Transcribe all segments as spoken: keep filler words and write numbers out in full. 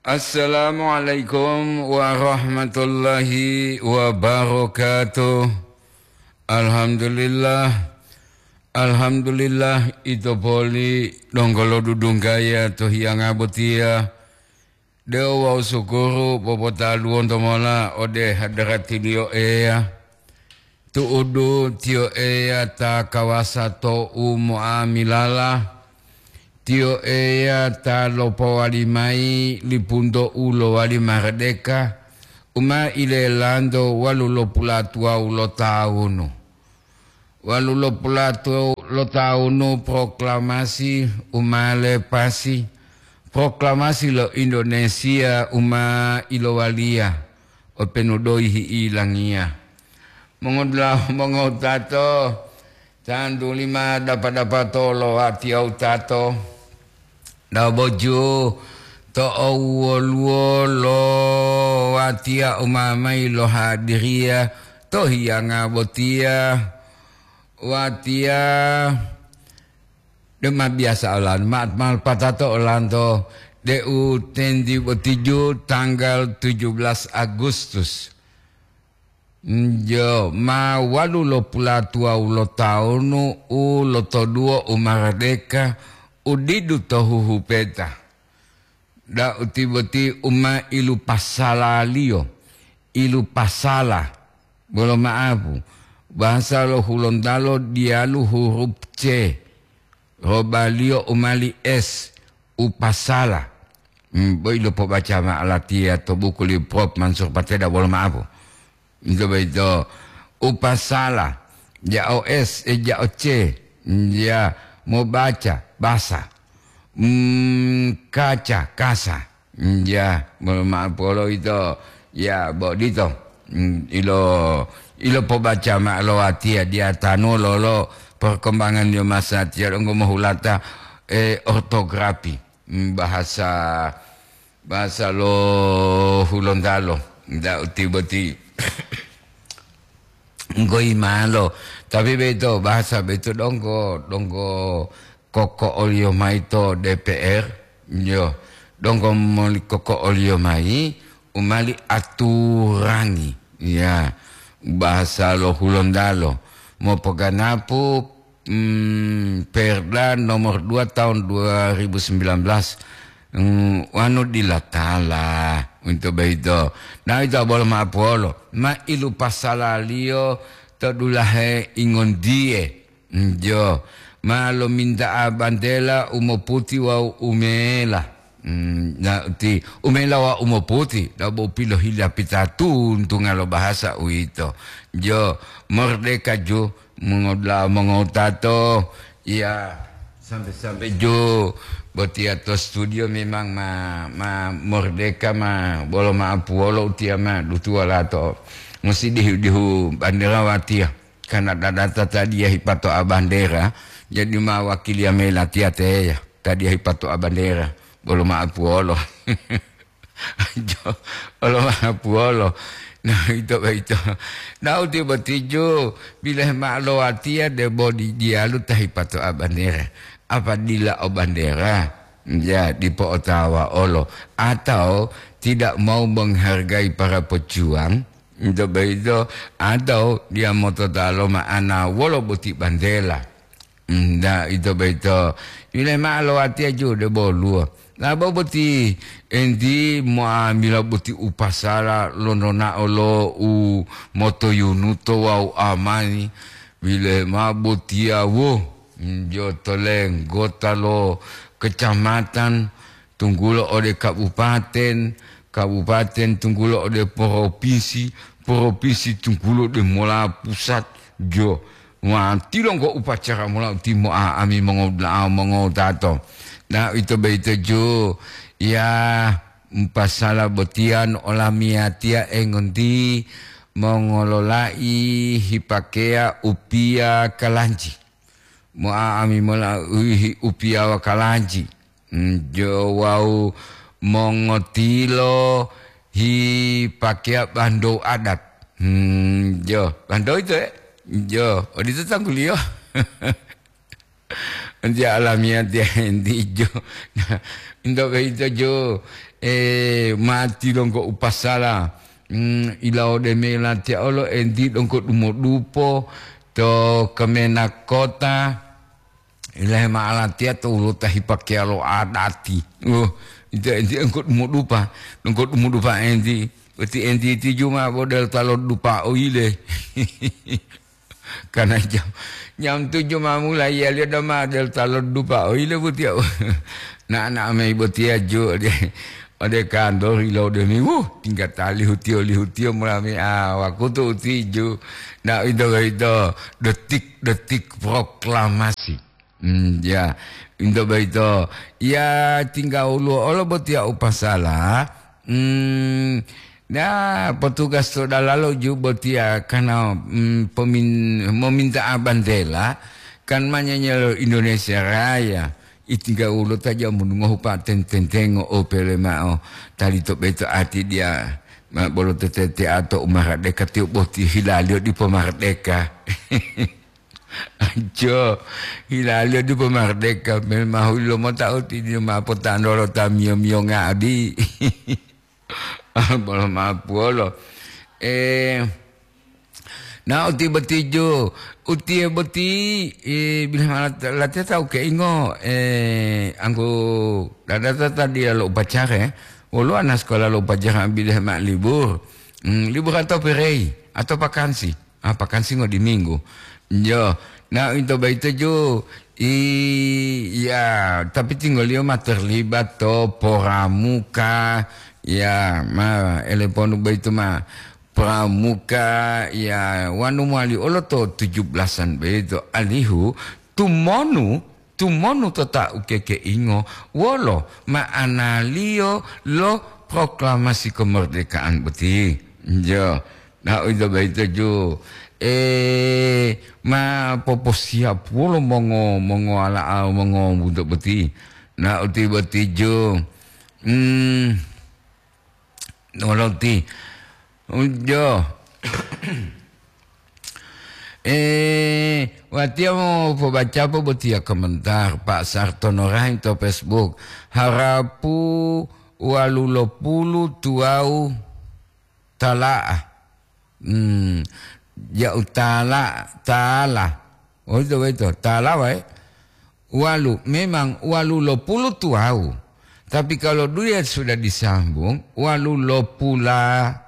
Assalamualaikum warahmatullahi wabarakatuh. Alhamdulillah. Alhamdulillah, ito poli donggo lodudunggaya to hiyanga botiya. De'u wawu sukuru popotaluwonto mola ode hadaratiliyo Eya. Tu'udu Tiyo Eya ta kawasa to u mo'amilala, Tiyo Eya ta lopowali mayi lipunto u lowali maradeka, u ma ilelanto walu lopulatuwawu lo tawunu. Walu lopulatuwawu lo tawunu proklamasi u ma lepasi, proklamasi lo Indonesia u ma ilowaliya, openu doyi hi'ilangiya. Mongodula'a mongowutato, tantu lima dapa-dapato lo watiya wutato, daboju to owoluwo lo watiya umamayi lo hadiriya to hiyanga botiya, watiya dema biyasa olan, ma-, malpatato olanto de'u tendi botiju tanggal tujuh belas Agustus. Njo, ma walu lopulatuwawu lo tawunu u lotoduwo u maradeka u didu to huhupeta. Da'u tiboti u ma ilupasalaliyo, ilupasala, bolo ma'apu, bahasa lo Hulontalo diyalu hurup C, robaliyo u mali S, upasala. Hmm, boyi lopobaca ma'o latiya to buku li Prof Mansur Pateda, bolo ma'apu. Ito boyito, upasala, ja'o S, eh, ja'o C, ya, mobaca, basa. Hmm, kaca, kasa. Hmm, ya, mo-, ma'o polo ito, ya, bodito. Hmm, ilo, ilo pobaca ma'o lo watiya diya tanu lolo perkembangan yo masatiya donggo mohulata, eh, ortografi. Hmm, bahasa, bahasa lo Hulontalo, nda uti boti. Ngoyi malo. Tapi beto, bahasa beto donggo, donggo koko'oliyo mayi to D P R, yo, donggo moli koko'oliyo mayi, u mali aturangi, ya, bahasa lo Hulontalo. Mopoganapu, mm, Perda nomor dua tahun dua ribu sembilan belas, mm, wanu dilatala, uwito boyito. Na ito bolo ma'apuwolo, ma ilupasalaliyo to dulahe ingondiye. Njo, ma lominta'a bantela u moputi wawu u mela. Mm, na uti, u mela wawu u moputi, dabo pilohilapita tuntunga lo bahasa uwito. Jo, merdeka ju, mongodula'a mongowutato, iya, sampe-sampe ju botiya to studio memang ma, ma merdeka ma, bolo ma'apuwolo utiya ma dutuwa lato. Musi dihu-dihu bandera watiya. Karena dadata tadiya hipato'a bandera, jadi ma wakiliya mayi latiya teya, tadiya hipato'a bandera, bolo ma'apuwolo. Jo, bolo ma'apuwolo. Na, ito boyito. Na uti botiju, bilohe ma'o lo watiya debo di diyalu ta hipato'a bandera. Apa dila o bandera? Ya, dipo otawa olo. Atau tidak mau menghargai para pejuang, Nto boyito, atau diya motota lo ma'ana wolo boti bantela. Nda ito boyito, yule ma'o lo watiya ju de boluwo. Labo boti enti mo'amila boti upasala lonto na'o lo u motoyunuto wawu amani, bile ma'o botiya wo, njo to lenggota lo kecamatan, tunggulo ode kabupaten, kabupaten tunggulo ode poropinsi, poropinsi tunggulo ode mola pusat, jo, watilonggo upacara mola utimoa ami mongodula'a mongowutato. Na ito boyito ju, ya, mpasala botiya no olamiyatiya engonti mongolola'i hipakeya upiya kalanji. Moa ami mola uhihi upiyawa kalanji. Hmm, jo wawu mongotilo hipakeya bandou adat. Hmm, jo, bandou ito, eh? Jo, odito tangguliyo. Enti alamiya tiya enti jo. Nah, into boyito jo, eh, mati donggo upasala. Hmm, ilawode me latiya olo enti donggo dumodupo to Kemenag Kota. Ilahe ma'alatiya to woluwo ta hipakeya lo adati. Oh, ente, ente engko dumudupa, engko dumudupa enti. Boti enti tiju ma bo del talo dupa oile. Karena jam, jam tujuh ma mulai ya liyo dama del talo dupa oile boti ya. Na, na mai boti ya ju de. Ode kantor ilodemi, wuh, tingga tali hutiyo-lihutiyo mulami, ah, wakutu utiju. Nah, ito, ito, detik-detik proklamasi. Hmm, ya, ito boyito. Ya, tingga woluwo olo botiya u pasala. Hmm, ya, petugas to dalalo ju botiya karena, hmm, pemin-, mominta'a bandela, kan manyanya lo Indonesia Raya. Itingga wolo ta jamu ngohu pa ten-, tentengo opele ma'o, tali to beto ati dia, ma bolo tetete ato umaradeka tiyo boti hilaliyo dipo maradeka. Ajo, hilaliyo dipo maradeka, mel mahu lo mota uti dio ma potandolo ta miyo-miyo nga'adi. Bolo mapuolo. Eh, na uti boti jo, utiye boti, eh, bilih ma lat-, latiya tawu keingo, eh, anggo dadata ta diya lo upacara, eh. Woluwo ana sekolah lo upacara bilih ma libur. Hmm, libur atau perei, atau vakansi. Ah, pakansingo di Minggu. Yo, na into boyito ju, i-, ya, tapi tinggoliyo ma terlibat to poramuka, ya, ma eleponu boyito ma pramuka, ya, wanu mowali olo to tujuh belasan boyito. Alihu, tumonu, tumonu to ta ukekeingo, wolo ma'analiyo lo proklamasi kemerdekaan boti. Yo. Nah, uwito boyito ju, eh, ma poposiyapuwolo mongo-, mongowala'a, mongowuto boti. Nah, uti boti ju, hmm, noloti. Ujo. Eh, watiya mo pobaca po botiya komentar Pak Sartono Rahim to Facebook. Harapu walu lopulu tuwawu tala'a. Hmm, ya'u tala, tala. Oh, itu, itu. Tala, wae. Walu, memang walu lopulu tuwawu. Tapi kalau dia sudah disambung, walu lopula.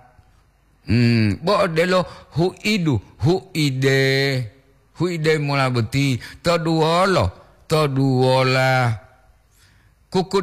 Hmm, bo odelo hu'idu, hu'ide. Hu'ide mola boti. Toduwolo, toduwola. Kuku